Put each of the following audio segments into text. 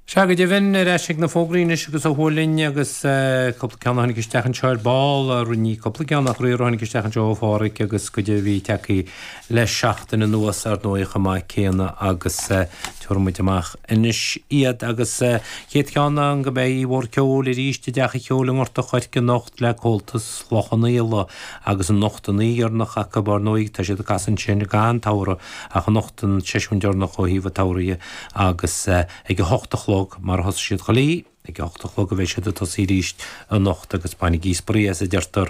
Sea, go deimhin, ar ais ag na fógraí anois agus a Shúilin agus cúpla ceann a tháinig isteach anseo ar ball, ní cúpla ceann ach riar a tháinig isteach anseo ó Phádhraic agus cuid a bhí tagtha le seachtain anuas ar ndóigh chomh maith céanna agus tabharfaidh muid amach anois iad agus chéad cheann ná go mbeidh oíche mhór ceoil arís i dTeach an Cheoil i nGort a' Choirce anocht le Comhaltas Chloich Cheann Fhaola agus anocht an oíche dheireanach acu ar ndóigh tá siad ag casadh ansin i gcaitheamh an tsamhraidh ach anocht an seisiún deireanach ó thaobh an tsamhraidh dhe agus ag a hocht a chlog mar a thosaigh siad chuile oíche, ag a hocht a chlog a bheidh siad ag tosaí arís anocht agus bainigí spraoi as a deirtear.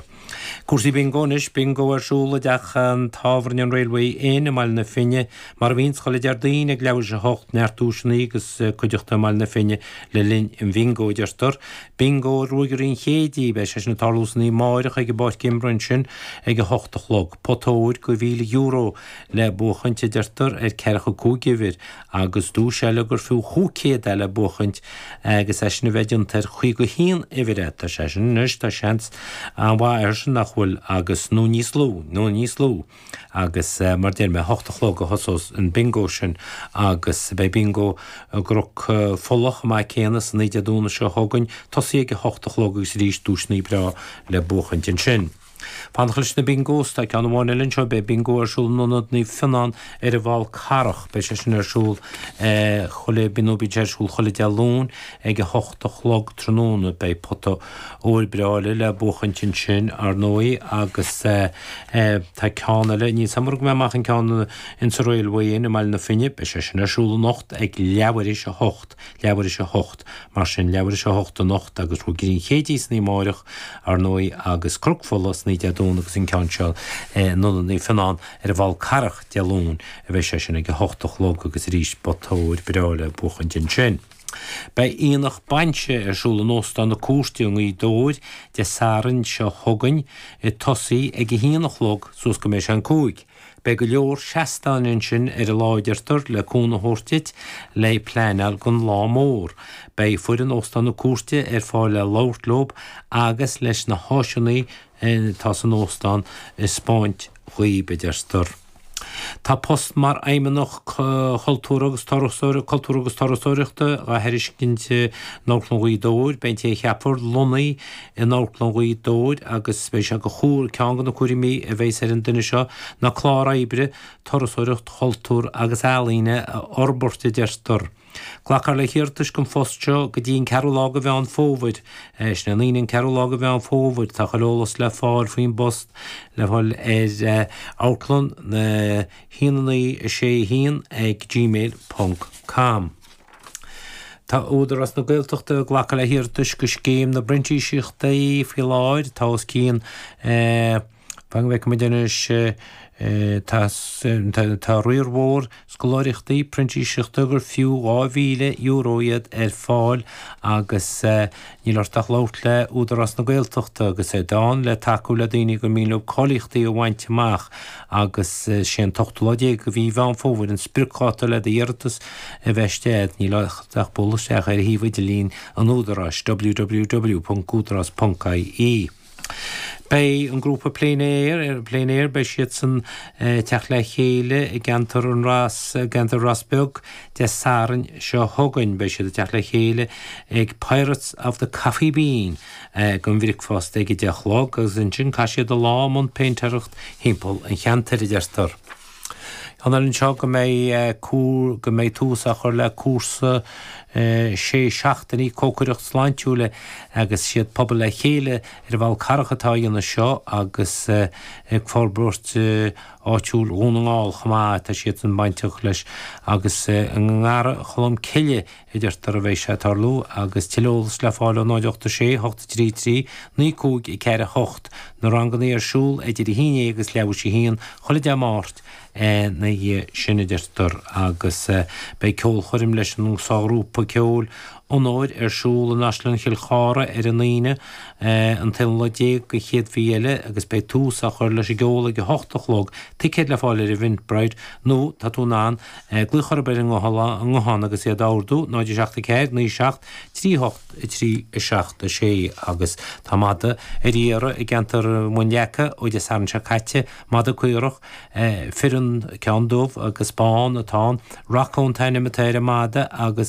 Cúrsaí Bingo anois, Bingo ar siúl i dteach an tábhairne an Railway Inn i mBaile na Finne mar a bhíonns chuile Déardaoin ag leathuair tar éis a hocht, neart duaiseanna agus cuideachta i mBaile na Finne le linn an bhingo a deirtear. Bingo Ruaigairí an Chéidí, beidh sé sin ag tarlú san oíche amáireach ag an bpáirc imeartha ansin ag a hocht a chlog. Pota óir go €1,000 le buachaint a deirtear ar ceathracha 5 uimhir agus duais eile gur fiú 500 é le buachaint agus é sin a bheith déanta ar 51 uimhir. Tá sé sin anois, tá seans an-mhaith air sin nach bhfuil agus, nó níos lú, nó níos lú. Agus mar deir mé, 8 a chlog a thosós an bingo sin agus beidh bingo i gCnoc Fola chomh maith céanna san oíche Dé Domhnaigh seo chugainn, tosaí ag 8 a chlog agus arís duaiseanna breá le buachaint ansin. Fanacht leis na bingos, tá ceann amháin eile anseo, beidh bingo ar siúl in Ionad Naomh Fionnán ar an bhFál Carrach. Beidh sé sin ar siúl chuile, nó bíonn sé ar siúl chuile Dé Luain ag a hocht a chlog tráthnóna. Beidh pota óir breá eile le buachaint ansin, ar ndóigh, agus tá ceann eile, níl 's a'm ar thug mé amach an ceann insa Railway Inn i mBaile na Finne, beidh sé sin ar siúl anocht ag leathuair théis a hocht. Leathuair théis a hocht, mar sin, leathuair théis a hocht anocht agus Ruaigairí an Chéidí san oíche amáireach, ar ndóigh, agus Cnoc Fola san oíche Dé Domhnaigh agus an ceann seo in Ionad Naomh Fionnán ar an bhFál Carrach Dé Luain a bheidh sé sin ag a hocht a chlog agus arís pota óir breá le buachaint ansin. Beidh aonach bainse ar siúl in Óstán na Cúirte i nGaoth Dobhair Dé Sathairn seo chugainn, ag tosaí ag a haon a chlog suas go mbeidh sé an cúig. Beidh go leor seastáin ansin ar an lá a deirtear le cúnamh a thabhairt duit le pleanáil don lá mór. Beidh foireann Óstán na Cúirte ar fáil le labhairt leob agus leis na háiseanna atá san óstán a 'spáint dhaoib, a deirtear. Tá post mar Fheidhmeannach Chultúrtha agus Cultúrtha agus Turasóireachta á thairiscint in Amharclann Ghaoth Dobhair. Beidh an té a cheapfar lonnaithe in Amharclann Ghaoth Dobhair agus beidh sé de chúram, ceann de na cúraimí a bheas ar an duine seo ná clár oibre turasóireacht, chultúr agus ealaíne a fhorbairt, a deirtear. Glacfar le hiarratais don phost seo go dtí an ceathrú lá de Mheán Fómhair. Sin é an Aoine an ceathrú lá de Mheán Fómhair. Tá chuile eolas le fáil faoin bpost le fáil ar amharclann 1 9 6 1 ag gmail ponc com. Tá Údarás na Gaeltachta ag glacadh le hiarratais do Scéim na bPrintíseachtaí faoi láthair. Tá os cionn, fan go bhfeicfidh muid anois, tá tá riar mhór scoláireachtaí printíseachta gur fiú €2,000 iad ar fáil agus níl ort ach labhairt le Údarás na Gaeltachta agus iad ann le tacú le daoine gur mian leo cáilíochtaí a bhaint amach agus is é an t-ochtú lá déag de mhí Mheán Fómhair an spriocdháta le d'iarratas a bheith istigh. Níl ort ach bualadh isteach ar shuíomh idirlín an Údaráis, www.údarás.ie. Beidh an grúpa Plein Air, Plein Air, beidh siadsan ag teacht le chéile i gceantar an Ros, gceantar Ros Beag Dé Sathairn seo chugainn. Beidh siad ag teacht le chéile ag Pirates of the Coffee Bean don bhricfeasta ag a 10 a chlog agus ansin caithfidh siad an lá i mbun péintéireacht thimpeall an cheantair, a deirtear. Ceann eile anseo go mbeidh go mbeidh tús á chur le cúrsa sé seachtainí cócaireacht sláintiúil agus siad Pobal le Chéile ar an bhFál Carrach atá á dhéanamh seo agus ag forbairt áitiúil Dhún na nGall chomh maith tá siadsan bainteach leis agus i nGarraí Cholm Cille a deirtear a bheidh sé ag tarlú agus tuilleadh eolais le fáil ó 0 8 6 8 3 3 9 5 4 8. Na rangannaí ar siúl idir 1 agus leathuair théis a haon chuile Dé Máirt ina dhiaidh sin a deirtear agus beidh ceolchoirm leis an sárghrúpa ceoil Onóir ar siúl in Áislann Chill Chartha ar an Aoine an t-aonú lá déag den chéad mhí eile agus beidh tús á chur leis an gceol ag a hocht a chlog, ticéid le fáil ar Eventbrite nó tá tú in ann Glaoch orthu ar an nguthán agus iad a ordú, 0 7 4 9 7 3 8 3 7 6 agus tá madadh ar iarraidh i gceantar Mhuin Leaca ó Dé Sathairn seo caite, madadh caorach, fireann, ceann dubh agus bán atá ann. Rocco an t-ainm atá ar an madadh agus.